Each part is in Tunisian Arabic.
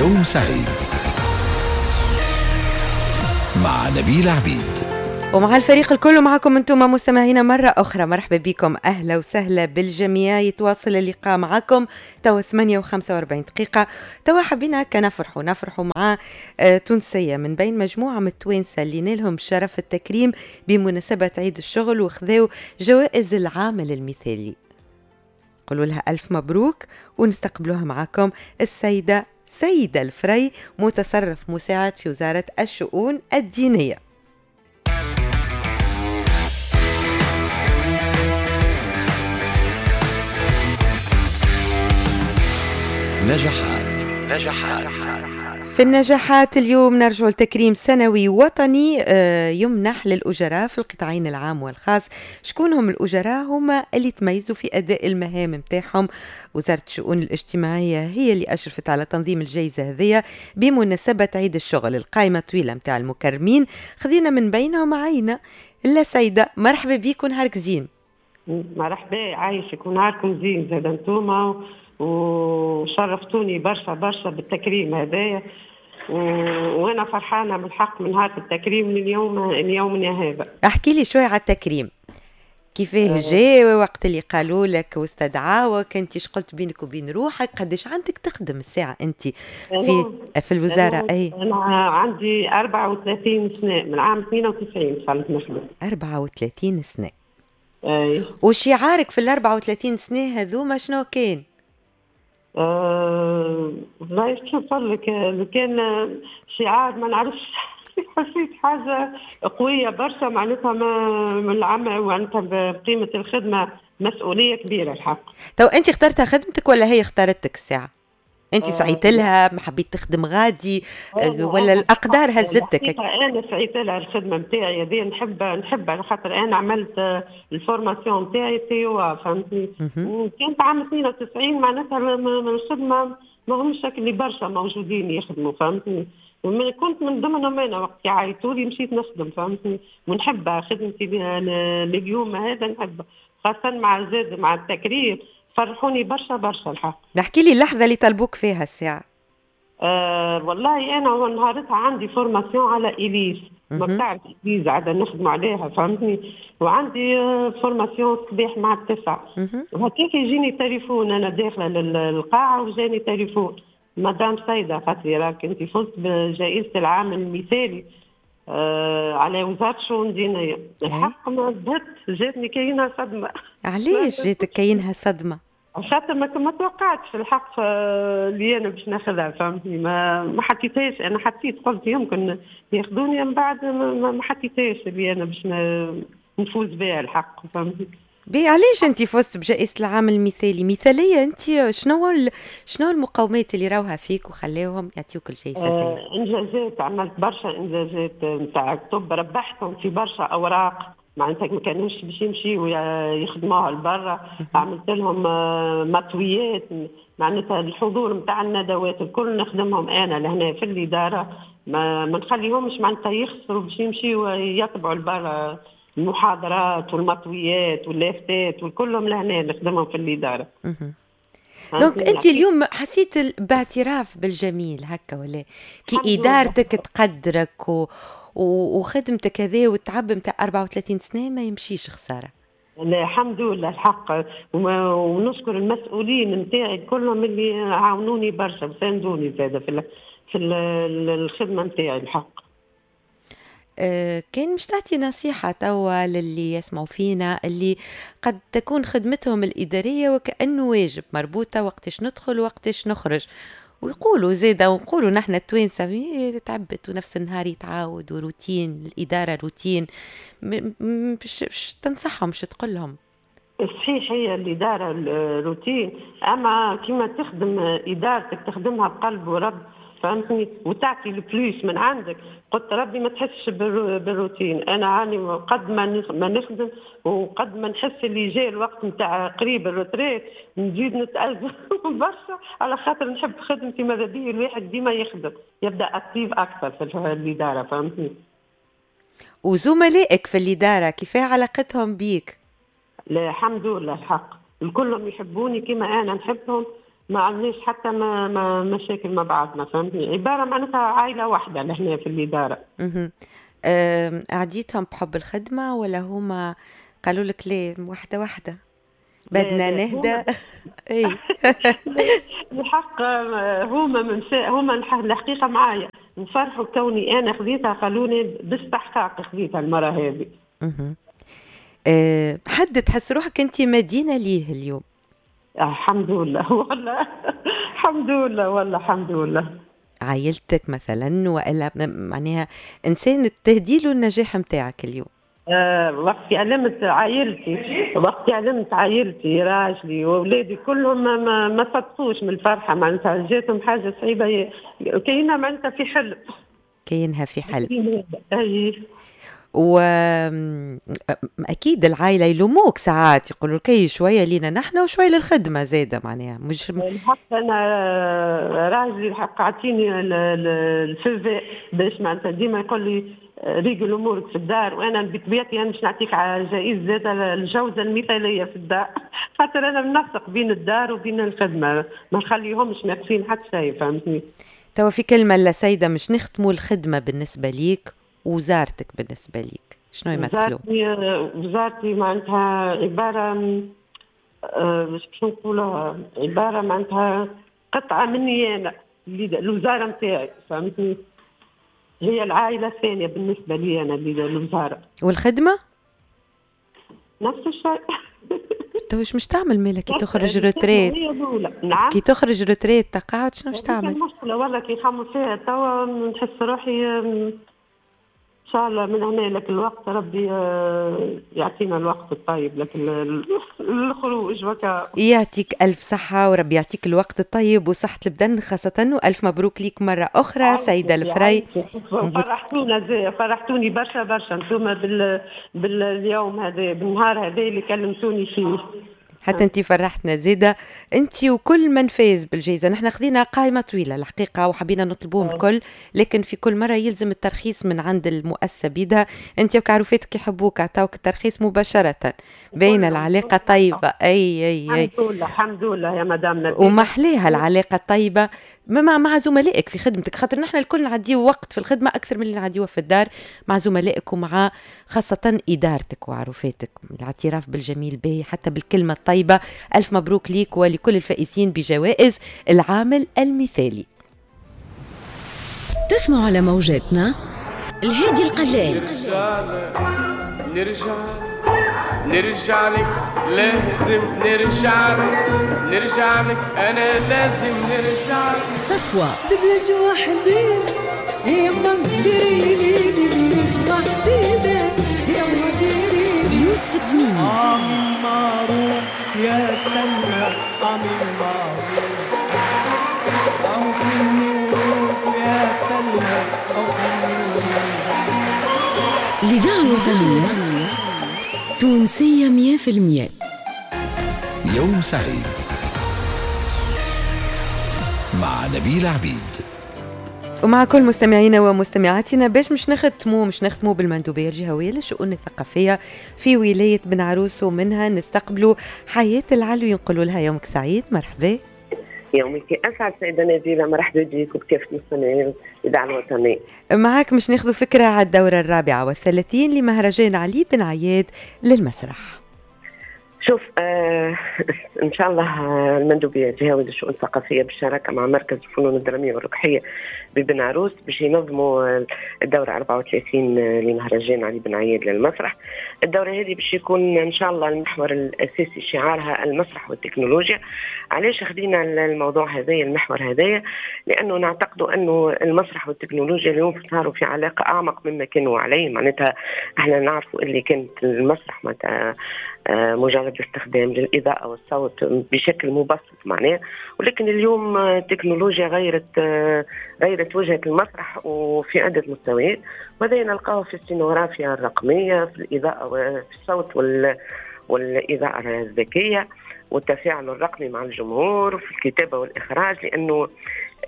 يوم سعيد مع نبيل عبيد ومع الفريق الكل ومعكم انتم مستمعينا مرة أخرى. مرحبا بكم، أهلا وسهلا بالجميع. يتواصل اللقاء معكم توا 8:45 دقيقة. توا حبينا كنفرحوا نفرحوا مع تونسية من بين مجموعة من التوانسة اللي نالهم شرف التكريم بمناسبة عيد الشغل وخذاو جوائز العامل المثالي. قولوا لها ألف مبروك ونستقبلوها معكم السيدة سيدة الفري، متصرف مساعد في وزارة الشؤون الدينية. نجاحات نجاحات. في النجاحات اليوم نرجع لتكريم سنوي وطني يمنح للأجراء في القطاعين العام والخاص. شكون هم الأجراء؟ هما اللي تميزوا في أداء المهام متاعهم. وزارة الشؤون الاجتماعية هي اللي أشرفت على تنظيم الجائزة هذه بمناسبة عيد الشغل. القائمة طويلة متاع المكرمين، خذينا من بينهم عينة. لا سيدة، مرحبا بيك ونهارك زين. مرحبا، عايشك ونهاركم زين زاد انتوما، وشرفتوني برشا برشا بالتكريم هذايا، وانا فرحانة بالحق من هذا التكريم لليوم ليومنا هذا. احكي لي شوي على التكريم، كيفاه جا وقت اللي قالوا لك واستدعاوك، انت اش قلت بينك وبين روحك؟ قداش عندك تخدم الساعة انت في الوزارة؟ اي انا عندي 34 سنة، من عام 92 دخلت نخدم. 34 سنة. اي. وشعارك في ال 34 سنة هذوما شنو كان؟ والله شو نقول لك، لو كان شعار ما نعرفش. حسيت حاجة قوية برشا، معناتها من العمل، معناتها بقيمة الخدمة مسؤولية كبيرة الحق. تو انت اخترتها خدمتك ولا هي اختارتك الساعة؟ انت سعيت لها، ما حبيت تخدم غادي ولا الاقدار هزتك؟ انا سعيت لها الخدمة نتاعي هذه، نحب على خاطر انا عملت ال formation نتاعي تيوا، فهمتني؟ وكانت عام 92 معناتها الخدمة ما همش اللي برشا موجودين يخدموا، فهمتني؟ كنت من ضمنهم انا وقت يعيطوا لي مشيت نخدم، فهمتني؟ ونحبها خدمتي لليوم هذا نحبها، خاصة مع زاد مع التكريم فرحوني برشا برشا الحق. نحكي لي اللحظة اللي طلبوك فيها الساعة. والله أنا نهارتها عندي formation على إليس، ما بتعرف إليس عاد نخدم عليها، فهمتني؟ وعندي formation الصباح مع 9، وهكاك يجيني تليفون، أنا داخلة للقاعة وجاني تليفون، مدام سيدة قالت لي راك أنت فزت بجائزة العام المثالي على وزارة الشؤون الدينية. الحق ما بهت، جاتني كاينها صدمة. علاش جاتك كاينها صدمة؟ خاطر ما توقعتش الحق اللي انا باش ناخذها، فهمتني؟ ما حطيتهاش، انا حطيت قلت يمكن ياخذوني، من بعد ما حطيتهاش اللي انا باش نفوز بها الحق، فهمتني؟ بي علاش انت فزت بجائزة العام المثالي؟ مثالية انت، شنو المقومات اللي راوها فيك وخلاوهم يعطيوك الجائزة؟ انجازات، عملت برشا انجازات نتاع كتب، ربحتهم في برشا اوراق، معناتها ما كانوش باش يمشيو يخدموها لبرا، عملت لهم مطويات، معناتها الحضور نتاع الندوات الكل نخدمهم انا لهنا في الادارة، ما نخليهمش معناتها يخسروا باش يمشيو يطبعوا لبرا المحاضرات والمطويات واللافتات وكلهم لهنا نخدمهم في الادارة. donc انت اليوم حسيت باعتراف بالجميل هكا ولا؟ كي ادارتك تقدرك وخدمتك هذه والتعب نتاع 34 سنة ما يمشيش خسارة. لا الحمد لله الحق، ونشكر المسؤولين نتاعي كلهم اللي عاونوني برشا وساندوني زاده في الخدمة نتاعي الحق. كان مش تعطي نصيحة توا للي يسمعوا فينا اللي قد تكون خدمتهم الإدارية وكأنه واجب مربوطة وقتاش ندخل وقتاش نخرج، ويقولوا زيادة ونقولوا نحن التوانسة تعبت ونفس النهار يتعاود وروتين الإدارة روتين، باش تنصحهم باش تقول لهم؟ صحيح هي الإدارة روتين، أما كما تخدم إدارتك تخدمها بقلب ورب، فهمتني؟ وتعطي ال plus من عندك. قلت ربي ما تحسش بالروتين، انا عاني قد ما نخدم وقد ما نحس اللي جاي الوقت نتاع قريب ال retraite نزيد نتأزم برشا، على خاطر نحب خدمتي. ماذا بيا الواحد ديما يخدم يبدا actif اكثر في الادارة، فهمتني؟ وزملائك في الادارة كيفاه علاقتهم بيك؟ لا الحمد لله الحق الكلهم يحبوني كما انا نحبهم، ما عندناش حتى ما مشاكل مع بعضنا، فهمتني؟ عبارة معناتها عائلة واحدة لهنا في الادارة. عديتهم بحب الخدمة ولا هما قالوا لك ليه واحدة واحدة بدنا نهدى؟ اي الحق هما الحقيقة معايا وفرحوا كوني انا خذيتها، قالوني باستحقاق خذيتها المرة هذه. حد تحس روحك انت مدينة ليه اليوم؟ الحمد لله والله، الحمد لله والله الحمد لله. عائلتك مثلا والا معناها انسان تهدي له النجاح نتاعك اليوم؟ وقت علمت عائلتي، وقت علمت عائلتي راجلي واولادي كلهم ما صدقوش من الفرحة، معناتها جاتهم حاجة صعيبة كاينها معناتها في حلم، كاينها في حلم. اي واكيد العائلة يلوموك ساعات، يقولوا لك شوية لينا نحن وشوية للخدمة زاده، معناها مش الحق. انا راجلي الحق عطيني الفيفي باش معناتها ديما يقول لي ريقل امورك في الدار، وانا بطبيعتي انا باش نعطيك على جائزة زاده الجوزه المثالية في الدار، خاطر انا منسق بين الدار وبين الخدمة، ما نخليهمش ناقصين حتى شيء، فهمتني؟ توا في كلمة لسيده مش نختموا الخدمة بالنسبة ليك وزارتك بالنسبة ليك شنو يمثلوا؟ وزارتي معناتها عبارة باش نقولها عبارة معناتها قطعه مني انا، الوزارة نتاعي، فهمتني؟ هي العائلة الثانية بالنسبة لي انا الوزارة. والخدمة؟ نفس الشيء. تو واش مش تعمل مالك كي تخرج retraite؟ نعم، كي تخرج retraite تقاعد شنو مش تعمل؟ المشكلة والله كي نخمم فيها توا نحس روحي ان شاء الله من هنا لك الوقت ربي يعطينا الوقت الطيب لك الخروج وكا. يعطيك ألف صحة وربي يعطيك الوقت الطيب وصحة البدن خاصة، وألف مبروك ليك مرة أخرى سيدة الفري. فرحتونا زي فرحتوني برشا برشا انتم باليوم هذا بالنهار هذا اللي كلمتوني فيه. حتى انت فرحتنا زيادة انت وكل من فاز بالجائزة. نحن خذينا قائمة طويلة الحقيقة وحبينا نطلبوهم الكل، لكن في كل مرة يلزم الترخيص من عند المؤسسة بيدها. انت وكعروفاتك يحبوك عطاوك الترخيص مباشرة، باينة العلاقة طيبة. اي اي اي الحمد لله، الحمد لله يا مدام نبيل. ومحليها العلاقة الطيبة مع زملائك في خدمتك، خاطر نحن الكل نعديو وقت في الخدمة أكثر من اللي نعديوه في الدار مع زملائك ومع خاصة إدارتك وعروفاتك. الاعتراف بالجميل به حتى بالكلمة الطيبة. ألف مبروك ليك ولكل الفائزين بجوائز العامل المثالي. تسمع على موجاتنا الهادي القلال. نرجع لك لازم نرجع لك، نرجع لك أنا لازم نرجع لك. صفوة دبلج وحدي يما ديري دبلج وحدي يما ديري. يوسف التميمي عامل معروف يا سلمى، عامل معروف أو يا سلمى أو. الإذاعة الوطنية تونسية 100%. يوم سعيد مع نبيل عبيد. ومع كل مستمعينا ومستمعاتنا باش مش نختموا بالمندوبية الجهوية للشؤون الثقافية في ولاية بن عروس، ومنها نستقبلوا حياة العلوي، نقولوا لها يومك سعيد، مرحبا. يومك أسعد سيدة نبيلة، مرحبا بك وبكافة مستمعين الإذاعة الوطنية. معاك مش ناخذ فكرة على الدورة 34 لمهرجان علي بن عياد للمسرح. شوف إن شاء الله المندوبية الجهوية للشؤون الثقافية بالشراكة مع مركز الفنون الدرامية والركحية ببن عروس باش ينظموا الدورة 34 لمهرجان علي بن عياد للمسرح. الدورة هذه باش يكون إن شاء الله المحور الأساسي شعارها المسرح والتكنولوجيا. علاش خدينا الموضوع هذايا المحور هذايا؟ لأنه نعتقد أنه المسرح والتكنولوجيا اليوم صاروا في علاقة أعمق مما كانوا عليه. معناتها احنا نعرفوا اللي كانت المسرح معناتها مجرد استخدام للإضاءة والصوت بشكل مبسط معناه، ولكن اليوم التكنولوجيا غيرت وجهة المسرح وفي عدة مستويات، وهذا نلقاه في السينوغرافيا الرقمية، في الإضاءة وفي الصوت والإضاءة الذكية والتفاعل الرقمي مع الجمهور، وفي الكتابة والإخراج، لأنه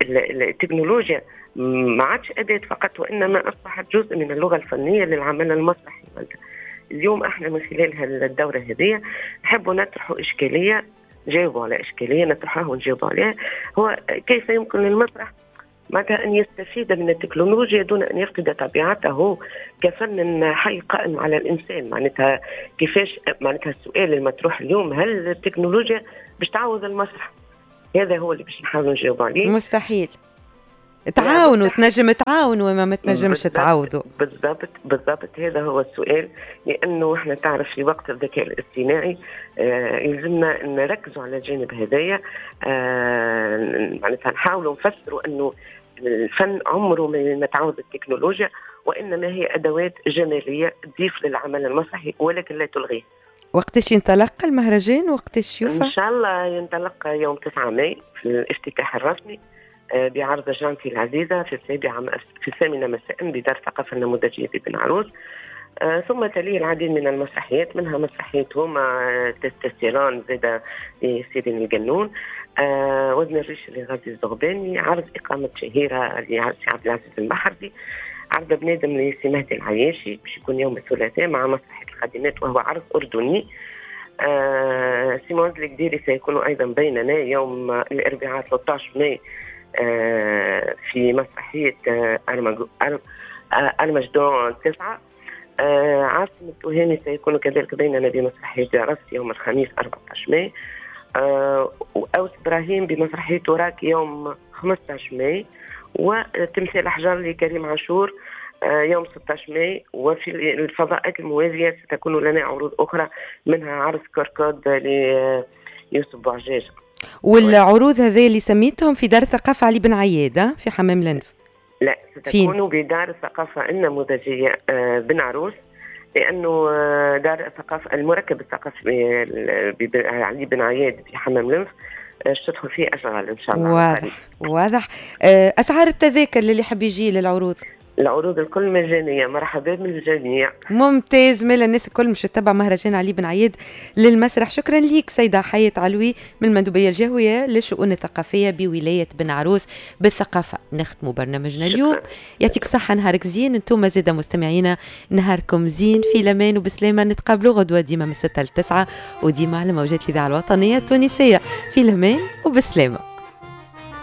التكنولوجيا ما عادش أداة فقط، وإنما أصبحت جزء من اللغة الفنية للعمل المسرحي. اليوم احنا من خلال الدورة هذه نحب نطرح إشكالية نجاوبوا على اشكالية نطرحها ونجاوبوا عليها، هو كيف يمكن للمسرح معناتها ان يستفيد من التكنولوجيا دون ان يفقد طبيعته كفن حي قائم على الانسان. معناتها كيفاش، معناتها السؤال المطروح اليوم، هل التكنولوجيا باش تعوض المسرح؟ هذا هو اللي باش نحاولوا نجاوبوا عليه. مستحيل. تعاونوا، تنجم تعاونوا وما تنجمش تعاوضوا. بالضبط بالضبط، هذا هو السؤال، لانه احنا تعرف في وقت الذكاء الاصطناعي يلزمنا نركزوا على الجانب هذايا. معناتها نحاولوا نفسروا انه الفن عمره ما تعوض التكنولوجيا، وانما هي ادوات جمالية تضيف للعمل المسرحي ولكن لا تلغيه. وقتاش ينطلق المهرجان؟ وقتاش يوفى؟ ان شاء الله ينطلق يوم 9 ماي في الافتتاح الرسمي بعرض جانتي العزيزة في 8 مساء بدار الثقافة النموذجية ببن عروس. ثم تليه العديد من المسرحيات، منها مسرحية هما تستيران زادة لسيرين الجنون، وزن الريش لغازي الزغباني، عرض إقامة شهيرة لسي عبد العزيز المحرزي، عرض بنادم لسي مهدي العياشي باش يكون يوم الثلاثاء مع مسرحية الخادمات وهو عرض أردني. سيمون القديري سيكون أيضا بيننا يوم الأربعاء 13 ماي في مسرحية أرمجدون 9. عاصم التهامي سيكون كذلك بيننا بمسرحية جرس يوم الخميس 14 ماي، وأوس إبراهيم بمسرحية وراك يوم 15 ماي، وتمثال أحجار لكريم عاشور يوم 16 ماي. وفي الفضاءات الموازية ستكون لنا عروض أخرى، منها عرض كركود ليوسف بوعجاج. والعروض هذه اللي سميتهم في دار الثقافة علي بن عياد في حمام لنف؟ لا، ستكون بدار الثقافة النموذجية بن عروس، لأنه دار الثقافة المركب الثقافي علي بن عياد في حمام لنف تدخل فيه أشغال إن شاء الله. واضح واضح. أسعار التذاكر للي حب يجي للعروض؟ العروض الكل مجانية، مرحبا بالجميع. ممتاز، مال الناس الكل مش تتبع مهرجان علي بن عياد للمسرح. شكرا ليك سيدة حياة علوي من المندوبية الجهوية للشؤون الثقافية بولاية بن عروس بالثقافة. نختموا برنامجنا اليوم، يعطيك صحة، نهارك زين. انتم زادة مستمعينا نهاركم زين، في لمان وبسلامة. نتقابلوا غدوة ديما من 6 ل 9 وديما على موجات الإذاعة الوطنية التونسية. في لمان وبسلامة.